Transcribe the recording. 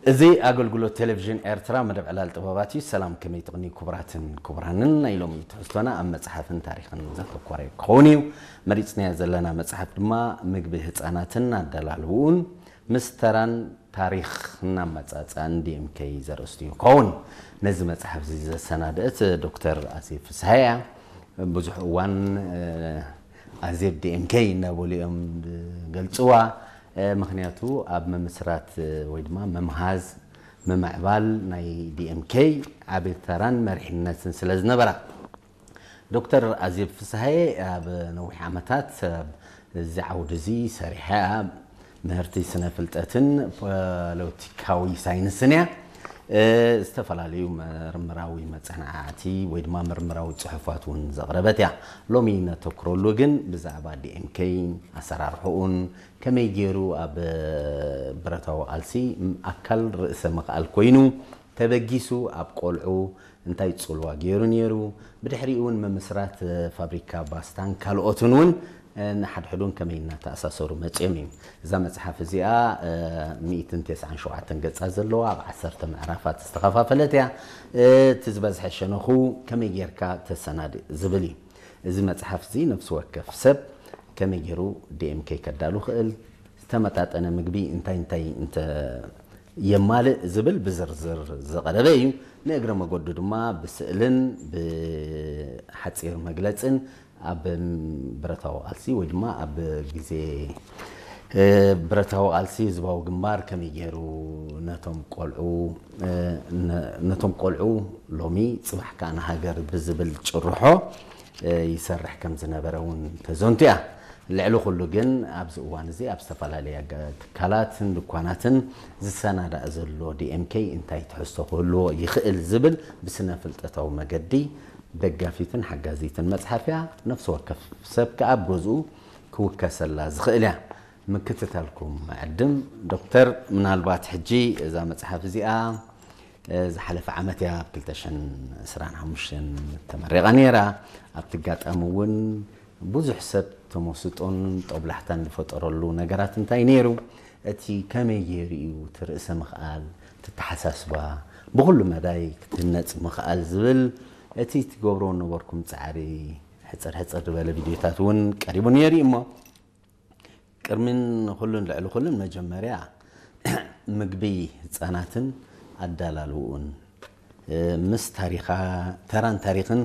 እዚ ኣገልግሎት ቴሌቪዥን ኤርትራ መደብ ዕላል ጥበባት እዩ። ሰላም፣ ከመይ ትቕኒ ክቡራትን ክቡራንን? ናይ ሎሚ ትሕዝቶና ኣብ መጽሓፍን ታሪኽን ዘተኮረ ክኸውን እዩ። መሪጽናዮ ዘለና መጽሓፍ ድማ ምግቢ ህጻናትን ኣደላልውኡን ምስ ተራን ታሪኽን ኣመጻጽኣን ዲኤምኬ ዘርእስቱ እዩ ክኸውን። ነዚ መጽሓፍ እዚ ዘሰናደእት ዶክተር ኣዜብ ፍስሃ እያ። ብዙሕ እዋን፣ እ፣ ኣዜብ ዲኤምኬ እናበሉ እዮም ዝገልጽዋ። እ፣ ምኽንያቱ ኣብ ምምስራት፣ እ፣ ወይ ድማ ምምሃዝ፣ ምምዕባል ናይ ዲኤምኬ ዓቢ ተራን መሪሕነትን ስለ ዝነበራ። ዶክተር ኣዜብ ፍስሃየ ኣብ ነዊሕ ዓመታት ኣብ እዚ ዓውዲ እዚ ሰሪሓ እያ። ምህርቲ ስነ ፍልጠትን ፖለቲካዊ ሳይንስን እያ። እ፣ ዝተፈላለዩ ምርምራዊ መጽናዕቲ ወይ ድማ ምርምራዊ ጽሑፋት እውን ዘቕረበት እያ። ሎሚ ነተኩረሉ ግን ብዛዕባ ዲኤምኬ ኣሰራርሕኡን ከመይ ገይሩ ኣብ ብረታዊ ቃልሲ ኣካል ርእሰ ምኽኣል ኮይኑ ተበጊሱ ኣብ ቆልዑ እንታይ ጽልዋ ገይሩ ነይሩ፣ ብድሕሪኡ እውን ምምስራት ፋብሪካ ባስታን ካልኦትን እውን ንሓድሕዱን ከመይ እናተኣሳሰሩ መጺኦም እዩ። እዛ መጽሓፍ እዚኣ፣ እ፣ ሚእትን ተስዓን ሸውዓተን ገጻት ዘለዋ ኣብ ዓሰርተ ምዕራፋት ዝተኸፋፈለት እያ። እቲ ዝበዝሐ ሸነኹ ከመይ ጌርካ ተሰናድእ ዝብል እዩ። እዚ መጽሓፍ እዚ ነፍሲ ወከፍ ሰብ ከመይ ገይሩ ዲኤምኬ ከዳሉ ክእል፣ ዝተመጣጠነ ምግቢ እንታይ እንታይ እንተ የማልእ ዝብል ብዝርዝር ዝቐረበ እዩ። ንእግረ መገዱ ድማ ብስእልን ብሓጺር መግለጽን ኣብ ብረታዊ ቃልሲ ወይ ድማ ኣብ ግዜ፣ እ፣ ብረታዊ ቃልሲ ህዝባዊ ግንባር ከመይ ገይሩ ነቶም ቆልዑ፣ እ፣ ነ-፣ ነቶም ቆልዑ ሎሚ ጽባሕ ከኣ ንሃገር ብዝብል ጭርሖ፣ እ፣ ይሰርሕ ከም ዝነበረ እውን ተዘንቱ እያ። ልዕሊ ኩሉ ግን ኣብዚ እዋን እዚ ኣብ ዝተፈላለያ ገ-፣ ትካላትን ድኳናትን ዝሰናዳእ ዘሎ ዲኤምኬ እንታይ ትሕዝቶ ክህልዎ ይኽእል ዝብል ብስነ ፍልጠታዊ መገዲ ደጋፊትን ሓጋዚትን መጽሓፍ እያ። ነፍሲ ወከፍ ሰብ ከኣ ኣብ ገዝኡ ክውከሰላ ዝኽእል እያ። ምክትታልኩም ዕድም ዶክተር፣ ምናልባት ሕጂ እዛ መጽሓፍ እዚኣ፣ እ፣ ዝሓለፈ ዓመት እያ ኣብ ክልተ ሽሕን ዕስራን ሓሙሽተን ተመሪቓ ነይራ። ኣብቲ ኣጋጣሚ እውን ብዙሕ ሰብ ተመስጦን ጦብላሕታን ዝፈጠረሉ ነገራት እንታይ ነይሩ? እቲ ከመይ ገይሩ እዩ እቲ ርእሰ ምኽኣል፣ እቲ ኣተሓሳስባ ብኹሉ መዳይ ክትህነጽ ምኽኣል ዝብል እቲ ትገብርዎ ነበርኩም ጻዕሪ ሕጽር ሕጽር ዝበለ ቪድዮታት እውን ቀሪቡ ነይሩ እዩ እሞ፣ ቅድሚን ኩሉን ልዕሊ ኩሉን መጀመርያ ምግቢ ህጻናትን ኣዳላልውኡን፣ እ፣ ምስ ታሪኻ፣ ተራን ታሪኽን